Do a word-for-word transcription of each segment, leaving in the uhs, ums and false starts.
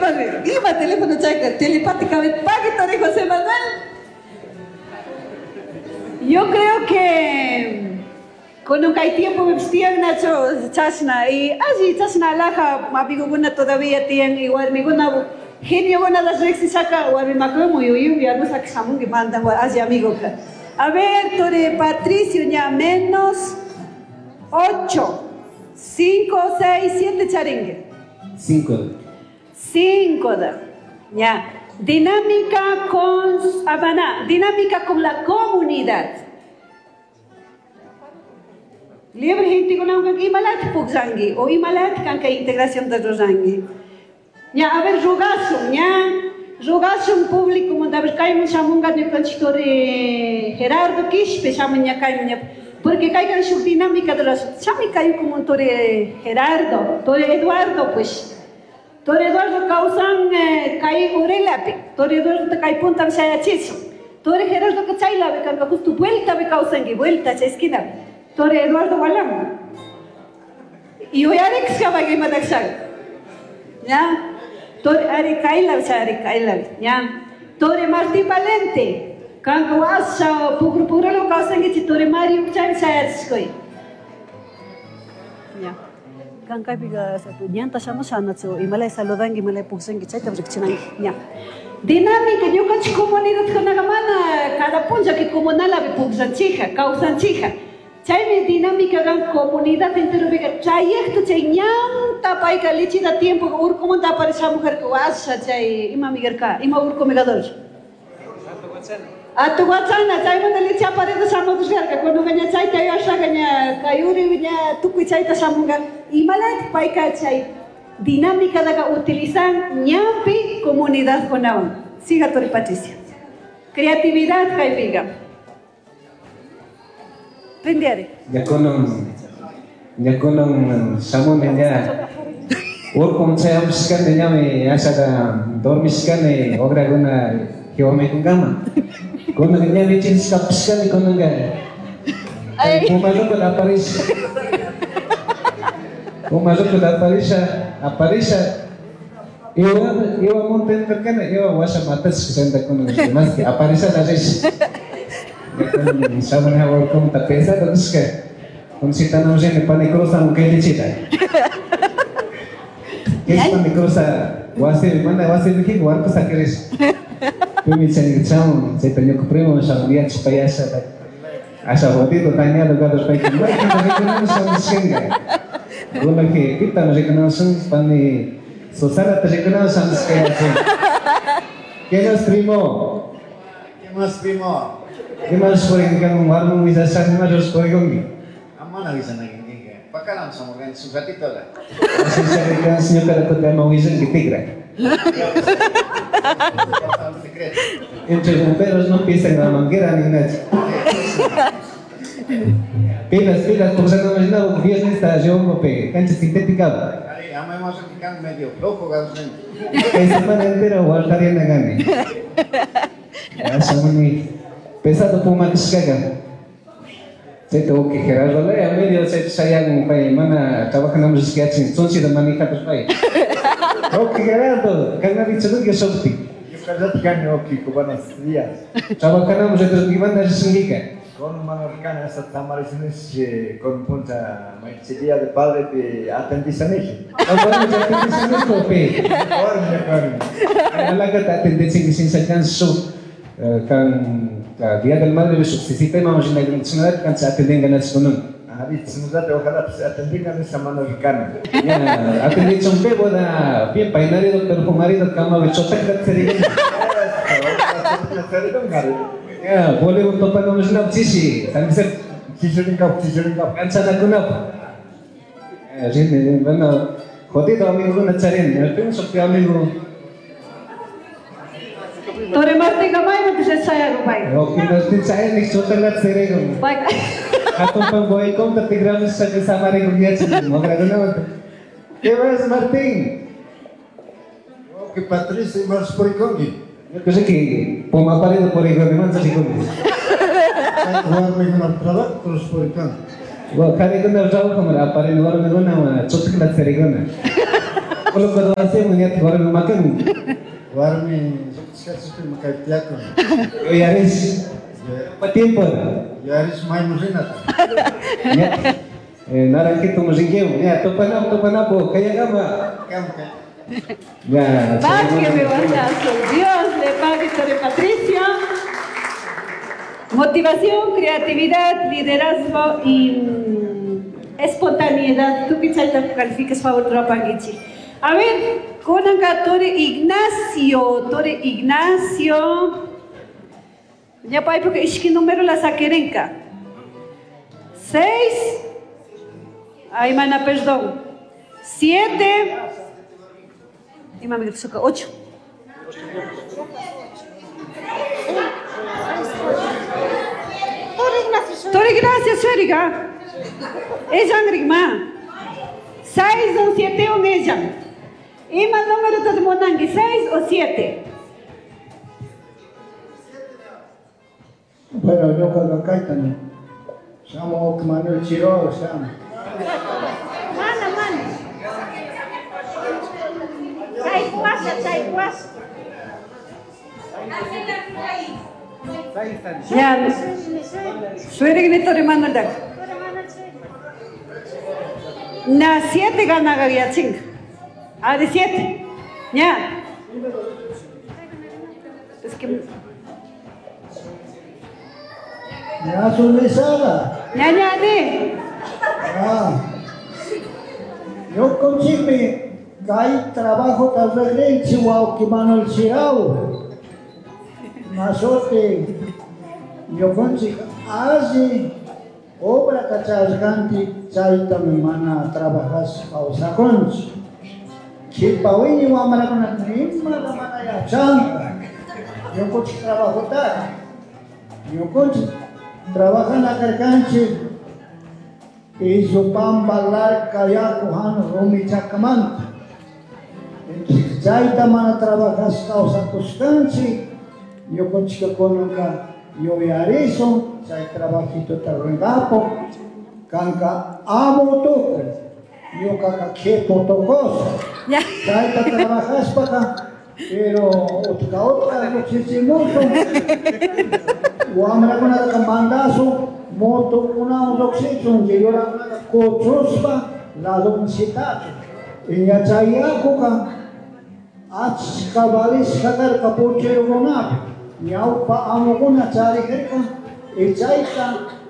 Manuel. Ima teléfono chayka telepáticamente pagui Tore José Manuel. Yo creo que con un kay tiempo me vestían nacho chasna y así chasna alhaja amigokuna todavía tiyan y warmikuna genio guna las riqsishaka warmimakuman yuyun ya no shamunki mandan alli amigo ka. A ver, Tore Patricio, ya menos ocho, cinco, seis, siete charingue. Cinco. Cinco, da. Ya. Dinámica con Habana, dinámica con la comunidad. Libre gente con un imalat pugzangi o imalat kanka integración de rosangi. Ya, a ver, rogasun, ya. Rogasun público, a ver, kayman shamunga ñukanchik Tore Gerardo Quispe shamun ña kayman ña, porque kaykan shuk dinámica de los chami kay como Tore Gerardo, Tore Eduardo, pues. Tore Eduardo kawsan kay Urelapi, Tore Eduardo kay punta shayachisun. Tore Gerardo que chaylapi kanka justo vuelta be kawsanki, vuelta chay esquina. Tore Eduardo walam. Y uyarik shaban imatak. Ya. Tore ari kaylapi, ari kaylapi, ya. Tore Martín Valente, kanka washa pukru pukralo kawsankichik Tore Mario chay shayachishkuy. Ya. Kankaypiqa ñanta shamusha nachu imalay saludanki imalay puksanki chayta riqchinanki ña. Dinámica ñukanchik comunidadkunaqa mana cada punlla que comunalapi pukllanchikqa kawsanchikqa. Chaymi dinámica kan comunidad enteropiqa trayecto chay ñanta payqa lichita tiempo urkumanta aparishamujarka washa chay imami karka ima urkumi kador. Atuwachana chaymanta lichi aparida shamushkarka kunuqa ña chayta yuyashaka ña kay uri ña tukuy chayta shamunqa imalayta payqa chay dinámica daqa utilizan ñanpi comunidadkunawan. Siga Tore Patricio. Creatividad kaypiqa. Rindiare. Ñakunan ñakunan shamuni ña urkun chayamushkani ñami ashaka dormishkani ograkuna jiwamikunkama. Kunan ña lichishkapishkani kunanka Puma loco aparisha. Puma loco aparisha, aparisha. Iwa iwa monte karkani iwa washa matashka chayta kunan más que aparisha la rish. Shamuni urkumanta pesado nishka. Kunsitanamun rini pani cruzan kay lichita. Kay pani cruza wasi mana wasi rikik warku sakirish. Pimi chay chamun chayta ñuka primo shamun yachashpa yasha asha jodido dañado gados payka maypita rikunami shamushkanka. Kunanki pitami rikunamushun pani Susanata rikunamun shamushka yachin. ¿Qué más, primo? ¿Qué más, primo? ¿Qué más purikunkan warmi willashaq ima rurash purikunki? Amana willanakinkinka. Pakalam shamurkanchik shuk ratitola. Así ñuqata kutin ama willanki tikra. Entre bomberos no pisan la manguera ni nada. Pilas, pilas, pukllanaman rinawak viernes llongopi cancha sintética. Ari, ama imashuti medio flojo gados. Kay semana entera guardariana kani. Shamuni pesado pumakishkaka. Chayta uki Gerardo laya medio chayta shayan pay mana trabajanamun rishkachin chunchita manejapis pay. Oki Gerardo, kanarichunki shukti. Ñuqallata kani oki, buenos días. Trabajanamun rishkimanta rishinkika. Con mana rikani hasta tamarisinish con punta día de padre pi atendisanish. No atendisanish pi. Warmi kani. Alakata atendichinki shinsakan shuk kan Día del Madre shuk sistema rinakrinchik kancha atendinganachik kunan. Ari, tsinulate ojalá atendingan esa mano rikani. Ya, atendichun pe boda bien peinarido perfumarido kamapi chotakta tsarikun. Ya, voleibol topanamun rinawak chishi, San Vicente. Chichirinkapak, chichirinkapak. Kanchanakunapaq. Rini, bueno, jodido amigokuna charini, primo shuk amigo. Tore Martinqa maymantash chayagun pay. Oki Martín chayanik chotakta tsarikun. Pay Hatun pampa tigramushaka samarikun yachan wakrakunamanta. ¿Qué más, Martín? Oki Patricio, imash purikunki. Ñuka riki pumaparido purikuni mancha rikuni. Warmikuna trabajo purikunki. Karikuna trabajo aparini warmikuna chotakta tsarikuna. Coloco hacemos ya warmi makan. Warmi lluqsishkachikpi kaypi Yuyarish. Pa tiempo. Yuyarish mayman rinata. Ya. Naranjito rinquemo. Ya, topanapo, topanapo, kayagama. Ya. Págueme, guardazo. Dios le pague, Torre Patricio. Motivación, creatividad, liderazgo y mm, espontaneidad. Tú que calificas favor Trapanguichi. A ver, kunanka Tore Ignacio, Tore Ignacio. Ya pa porque ishki número la saquerenka. Seis. Ay, mana, perdón. Siete. Y mami, ocho. Tore Ignacio, sueriga. Ella ma. Seis, un siete, un ella. Ima número de monangui, seis o siete. Bueno, yo cuando caitani. Llamo Manuel Chiro, llamo. Mana, mana. Chay guasa, chay guasa. Ya. Suere que Tore Manuel dak. Na siete gana ya ching. Ah, de siete. Ya. Es que Ya sonrisada. Ya, ya, de. Ah. Yo consigo kay trabajo tal vez Chihuahua que Manuel Chirao. Masote yo consigo así obra kachasganti chayta mi mana trabajas kawsakunchi. Chipawini wamrakuna nima mana yachanka. Ñukunchik trabajota. Ñukunchik trabajan akarkanchik Izupamba larka yaku han rumi chakamanta. Entonces chayta mana trabajas kawsakushkanchik ñukunchik kunanka yuyarisun chay trabajito rurankapo kanka amo tukuy ñuqaqa qhipu tukusaq. Chayta trabajaspaqa pero utqa utqa lluqshichimusun wamrakunataqa mandasun motokunawan lluqshichun yurakunaqa kuchuspa ladunsitachun. Iña chay yakuqa achka valishqa karqa puchayukunapi ñawpa amukuna charijirqa y chayta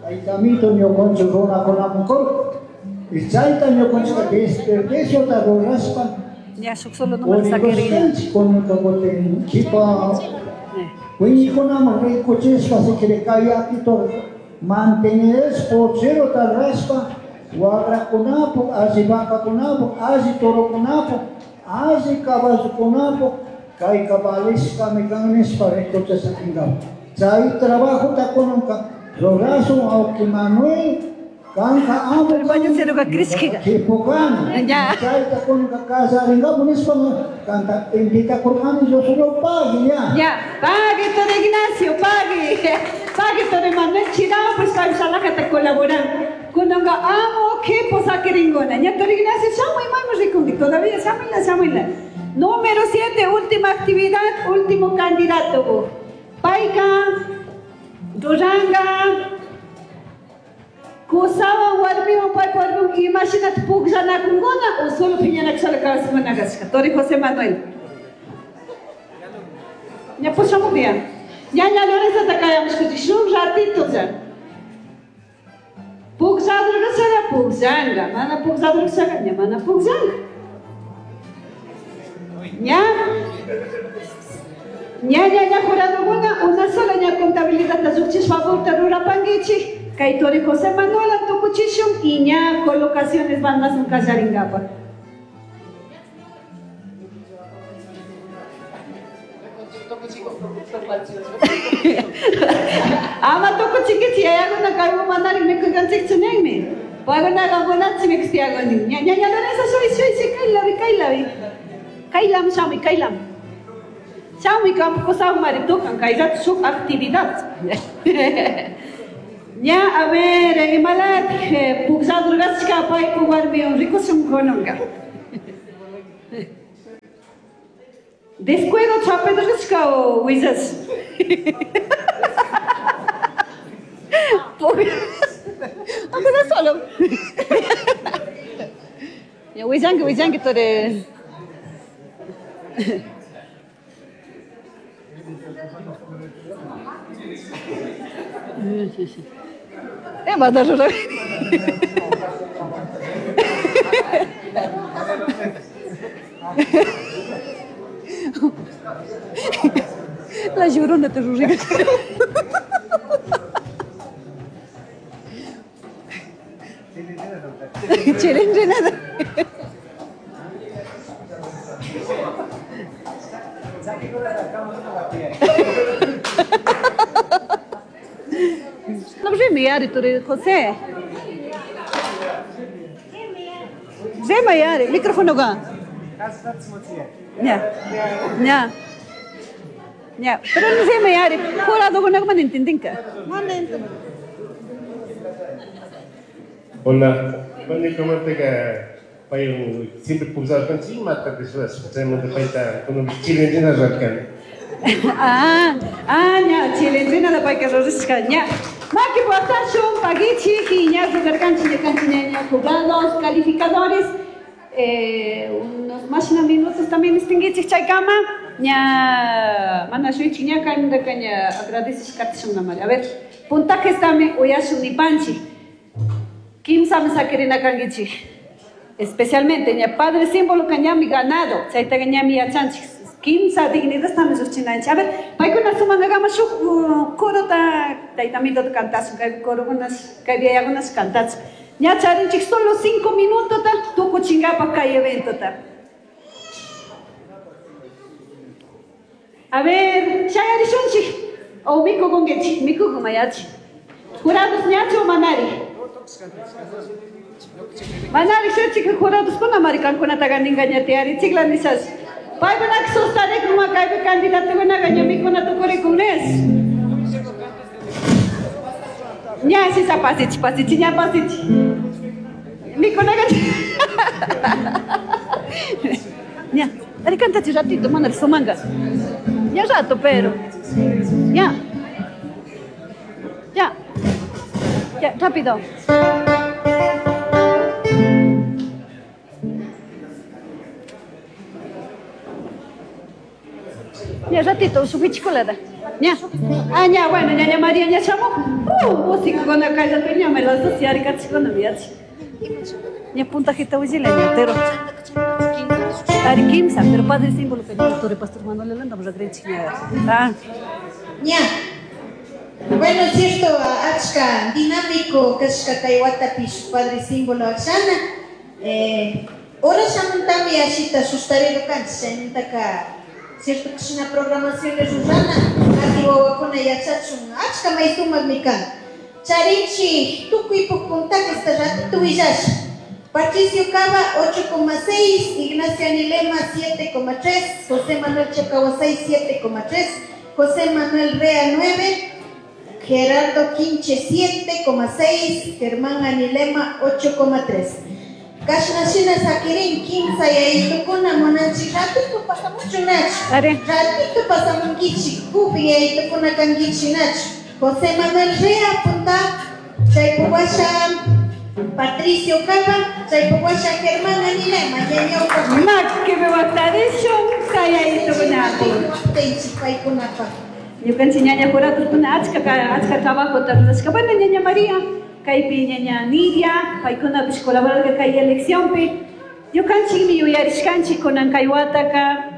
taytamito ñuqanchik runakunaman kurqa y chayta ñuqanchikqa desperdiciota ruraspa Ya, solo número saquerina. Kunanka kutin qhipa wiñikunaman rikuchispa si quiere kay yakito mantener pocherota raspa waqrakunapuq alli vacakunapuq alli torokunapuq alli caballokunapuq kayqa valishqami kan nispa rikuchisaqinkapak. Chay trabajota kunanka rurasun awki Manuel kanka amo qhipukani. Chayta kunanka kasarinkapu nispa kanta invitakurqani yo solo pague ya. Ya, pague Tore Ignacio, pague. Pague Tore Manuel Chirao, pues pague salajata colaboran. Kunanka amo qhipu saquiringona. Ya Tore Ignacio, shamuy mayman rikunki todavía shamuyla, shamuyla. Número siete, última actividad, último candidato. Payka, Duranga, Kusawan warmiwan paypa warmiwan imashinata pukllanakunkuna o solo phiñanakushala kawsakuna kashka. Tore José Manuel. Ya pushamuq ya. Ñaña Lorenzo kayamushkuchik shuk ratito ya. Puklladurkashaqa pukllanqa, mana puklladurkashaqa ña mana pukllanqa. Ña. Ña ña ña juradukuna una sola ña contabilidad lluqchishpa favorta rurapankichik. Kay Tore José Manuel tukuchishun y ña colocaciones van más un kallaringapa. Ama tukuchikichi yayakuna kaywan manarik mikunkanchikchu ninmi. Paykunaqa munachi mikustiyakunin. Ña ña ña Lorenzo shuy shuy shuy kaylapi kaylapi. Kaylam shamuy kaylam. Shamuy kampu kusawmari tukan kay rato shuk actividad. Ya, a ver, imalat puklladurkashka paypa warmiwan rikushun kunanka. Descuido chapedrishka o wizas. Aunque solo. Ya wizangi wizangi tore. Eh, va a dar La llorona te rurriga. Chile nada. No mayari turi José. Mayari, micrófono ga. Ya. Ya. Ya, pero no sé mayari, jurado con algo entendinka. Hola, bueno, como te que siempre pulsar con chima, te de paita con un chile en. Ah, ah, ya, chile la paika rorishka, ya. Maki votación, paguichi, y ya, rugarcanchi, ña, jugados, calificadores, eh, unos más minutos también distinguichi chaykama, ña, mana shuichi, ña, kaimunda kaña, agradeces katishun namari. A ver, puntajes también, uyashun ni panchi. Kimsa saquerina kangichi. Especialmente, ña, padre símbolo kañami ganado, chayta ñami yachanchi. Kimsa dignidad estamos uchinanchi. A ver, paykuna sumangagama shuk corota taytamito cantasun, kay corogunas, kay viayagunas cantatsu. Ña charinchik solo cinco minutos ta tukuchingapa kay evento ta. A ver, chayarishunchik o mikukunkichik, mikukumayachi. Jurados ñachu o manari. Manari shuchik jurados kuna marikankunataqa ningañatiari chikla nisas. Paykunak sustarek numa kaypi candidatukunaqa ñamikuna tukurikunes. Ña sisa pasichi pasichi ña pasichi. Mikunaqa ña, ari cantachi ratito mana sumanga. Ña rato pero. Ya. Ya. Ya, rápido. Ya, ratito, su pichicolada. Ya. Ah, ya, bueno, ñaña María, ña chamo. Uh, músico con la calle, ña me las dos y aricachicona, miachi. Ña puntajita ujila, ña, pero. Ari kimsa, pero padre símbolo que ña, torre pastor Manuel Elanda, vamos a creer ña. Ah. Ña. Bueno, es cierto, achka dinámico, kashka kay padre símbolo akshana. Eh, ora shamuntami ashita sustarero kanchi, chaymantaka cierto que una programación es rurana, ati wawakuna yachachun, achka may sumakmi kan. Charinchi, tukuy puntaje esta ratito willasha. Patricio Cava, ocho coma seis, Ignacio Anilema, siete coma tres, José Manuel Chacahuasay, siete coma tres, José Manuel Rea, nueve, Gerardo Quinche, siete coma seis, Germán Anilema, ocho coma tres. Kashnashina sakirin, kimsa yaytukuna munanchi, ratito pasamuchu nachu. Ratito pasamunkichi, kupi yaytukuna kankichi nachu. José Manuel Rea, punta, chaypuwasha Patricio Cava, chaypuwasha Germán Anilema, ñañawpa. Maki watadishun kayaytukunapi. Paykunapa. Ñukanchik ñaña juratukuna achka achka trabajo rurashka. Bueno, ñaña María, kaypi ñaña Nidia, paykunapish colaborarka kay eleccionpi. Ñukanchikmi yuyarishkanchik kunan kay wataka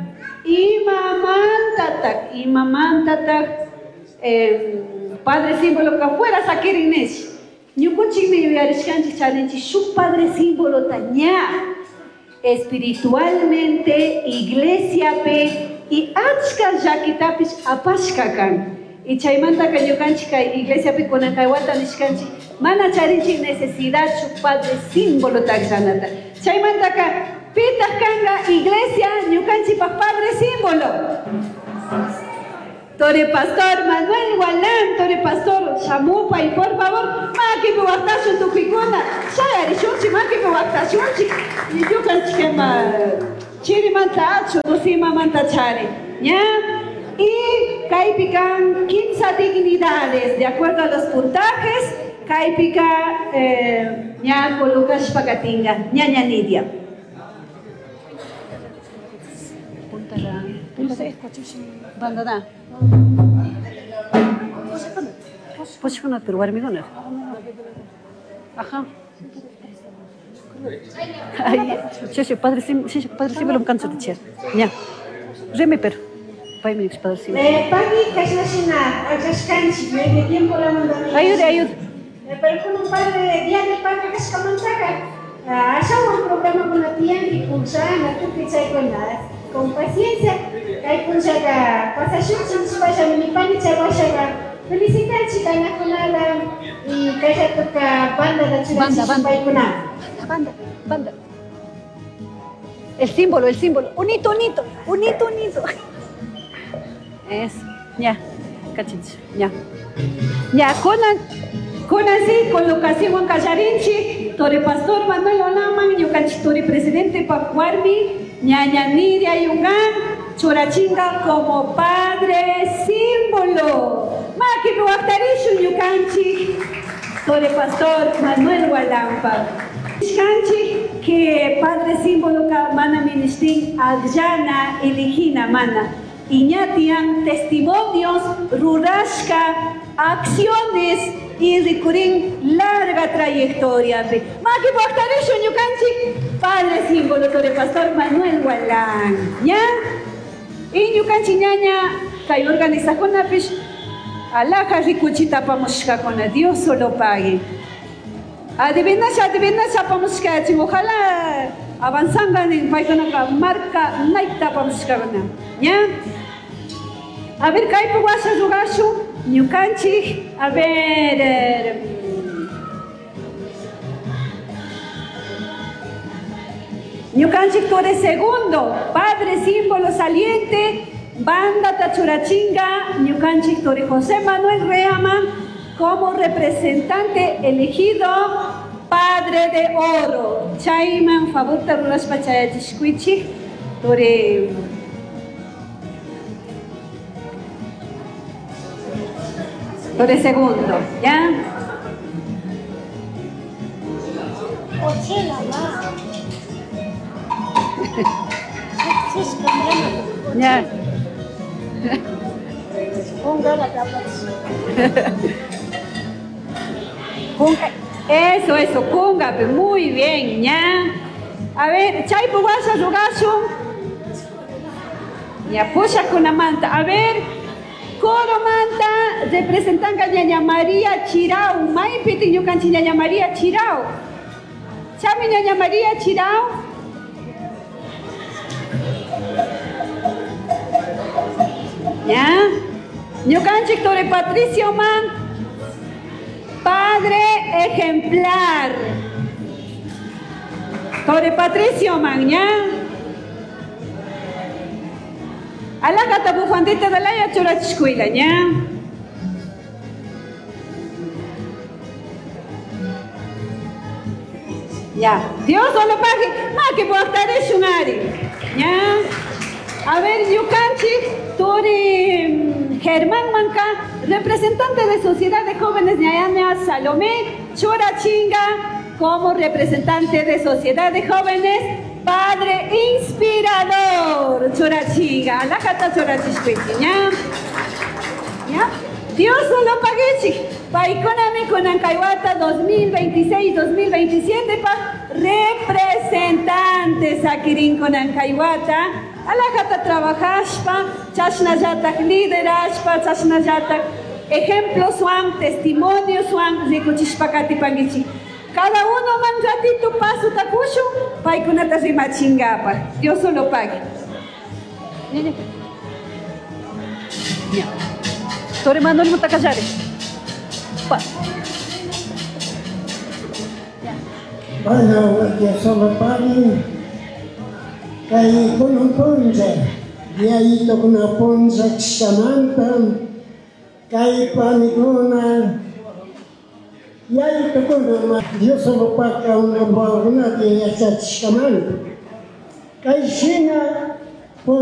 imamantatak, imamantatak eh, padre símbolo ka fuera sakirin nish. Ñukunchikmi yuyarishkanchik charinchik shuk padre símbolo ta ña espiritualmente iglesiapi y achka llakitapish apashka kan. Y chaymantaka ñukanchik kay iglesiapi kunan kay wata nishkanchik mana charinchik necesidad shuk padre símbolo takshanata. Chaymantaka pitaq kanqa iglesia ñukanchikpaq padre símbolo. Tore Pastor Manuel Gualán, Tore Pastor shamupa y por favor makipi waqtashun tukuykuna shayarishunchik makipi waqtashunchik ñukanchik ima Chirimanta achu, nusimamanta chari. ¿Ya? Y kaypikan quince dignidades, de acuerdo a los puntajes, kaypika eh, ña colocashpa katinga, ñaña Nidia. Banda da. Poshkuna pero warmikuna. Ajá. Ay, che, padre, sí, padre, sí, me lo canso de echar. Ya. Reme, pero. Pay me padre, sí. Pagui, kashnashina, akashkanchi, medio tiempo la mandamos. Ayude, ayude. Pero con un padre, día de padre, kashkamantaca. Ashawan programa con la tía y pulsana, tú que con la con paciencia. Kay punchaga, pasashun, chipasha, mi pani chabashaga. Felicitanchi kanakunala y kashatuka banda da Banda, banda. Banda, banda. El símbolo, el símbolo. Unito, unito, unito, unito. Es, ya, cachinch, ya. Ya, kunan, kunan sí, con lo que Juan Callarinchi, Tore Pastor Manuel Olaman, ñukanchik Tore Presidente Pacuarmi, ñaña Nidia Yungán, Churachinga como padre símbolo. Maki ruwaqtarishu ñukanchik Tore Pastor Manuel Hualampa. Kanchik que padre símbolo ka mana ministin akllana eligina mana. Iñatian testimonios rurashka acciones y ricurin larga trayectoria. Maki ruwaqtarishu ñukanchik padre símbolo Tore Pastor Manuel Hualán. ¿Ya? Y ñukanchik ñaña kay organizakunapish alaja rikuchita apamushkakuna, Dios solo pague. Adivinasha, adivinasha apamushkachin, ojalá avanzangan en paykunaka marca naikta apamushkakuna. ¿Ya? A ver, kaypi washa rurashun ñukanchik, a ver... Eh, ñukanchik Tore segundo, padre símbolo saliente, banda Tachurachinga, ñukanchik Tore José Manuel Reaman, como representante elegido, padre de oro. Chayman, favorta rurashpa chayachishkuichik, Tore... Tore segundo, ¿ya? Ya. Eso, eso, kunga, muy bien, ya. A ver, chaypu washa rurashun. Ya, pusha kunamanta. A ver, coro manta, representanga ñaña María Chirau. Maypiti ñukanchik ñaña María Chirau. Chami ñaña María Chirau. ¿Ya? Ñukanchik Tore Patricio Man, padre ejemplar. Tore Patricio Man, ¿ya? Alakata bufandita de la churachikuila, ¿ya? Ya, Dios solo pague, ma que puede ¿ya? A ver, ñukanchik Tore Germán Manca, representante de Sociedad de Jóvenes Ñaña Salomé Churachinga, como representante de Sociedad de Jóvenes, padre inspirador, Churachinga, alakata churachishkuichi, ¿ya? ¿Ya? Dios solo paguechi, paykunami kunankayWata dos mil veintiséis dos mil veintisiete pa representantes akirin kunankayWata. Alajata trabajashpa, chashnallatak liderashpa, chashnallatak ejemplos swan, testimonios swan, rikuchishpa katipankichik. Cada uno man ratito paso takushu, paykunata rimachingapaj. Dios solo pague. Tore Manuel Mutakallare. Pa. Bueno, Dios solo pague. Kay kunan puncha, diayito kuna puncha chishamanta, kay panikuna, yayito kuna, Dios solo paka una wawakunata yachachishamanta. Kay shina